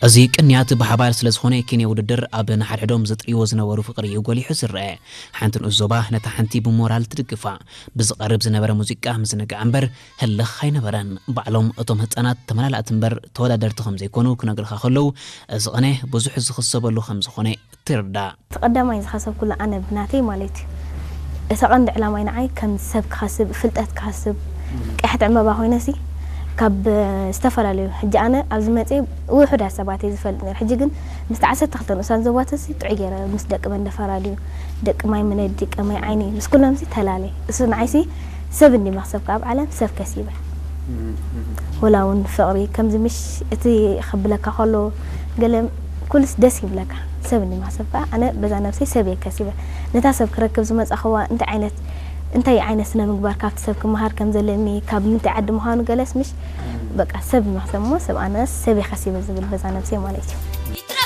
እዚ ቅንያት ብሓባር ስለ ዝኾነ፣ ኪነ ውድድር ኣብ ንሓድሕዶም ዝጥርይዎ ዝነበሩ ፍቕሪ እዩ ጎሊሑ ዝረአ። ሓንቲ ንኡስ ዞባ ነታ ሓንቲ ብሞራል ትድግፋ። ብዝቐርብ ዝነበረ ሙዚቃ ምዝንጋዕ እምበር ህልኽ ኣይነበረን። ባዕሎም እቶም ህጻናት ተመላላእቲ እምበር ተወዳደርቲ ከም ዘይኮኑ ክነግርኻ ከለዉ፣ እዚ ቕነ ብዙሕ ዝኽሰበሉ ከም ዝኾነ ትርዳእ። እቲ ቀዳማይ ዝኸሰብኩሉ ኣነ ብናተይ ማለት እዩ። እቲ ቀንዲ ዕላማይ ንዓይ ከም ሰብ ክኸስብ፣ ፍልጠት ክኸስብ፣ ቀያሕቲ ዕምባባ ኮይነሲ ካብ ዝተፈላለዩ፣ ሕጂ ኣነ ኣብዚ መፅየ ውሑዳት ሰባት እየ ዝፈልጥ ነይረ። ሕጂ ግን ምስቲ ዓሰርተ ክልተ ንኡሳን ዞባትሲ ጥዑይ ገይረ ምስ ደቂ መንደፈራ ድዩ፣ ደቂ ማይ ምነዲ፣ ቀመይ ዓይኒ፣ ምስ ኩሎምሲ ተላለየ። እሱ ንዓይሲ ሰብ እንዲ መኽሰብ ካብ ዓለም ሰብ ከሲበ። ወላ እውን ፍቕሪ ከምዚ ምሽ እቲ ክብለካ ከሎ ገለ ኩልስ ደስ ይብለካ። ሰብ እንዲ መኽሰብ ከዓ ኣነ በዛ ነብሰይ ሰብ እየ ከሲበ። ነታ ሰብ ክረክብ ዝመጻኽዋ እንታይ ዓይነት፣ እንታይ ዓይነት ስነ ምግባር ካብቲ ሰብ ክመሃር ከም ዘለኒ፣ ካብ ምንታይ ዓዲ ምዃኑ ገለስ ምሽ በቃ ሰብ መኽሰብ እሞ ሰብ ኣነስ ሰብ እየ ከሲበ ዝብል በዛ ነብሰይ ማለት እዩ።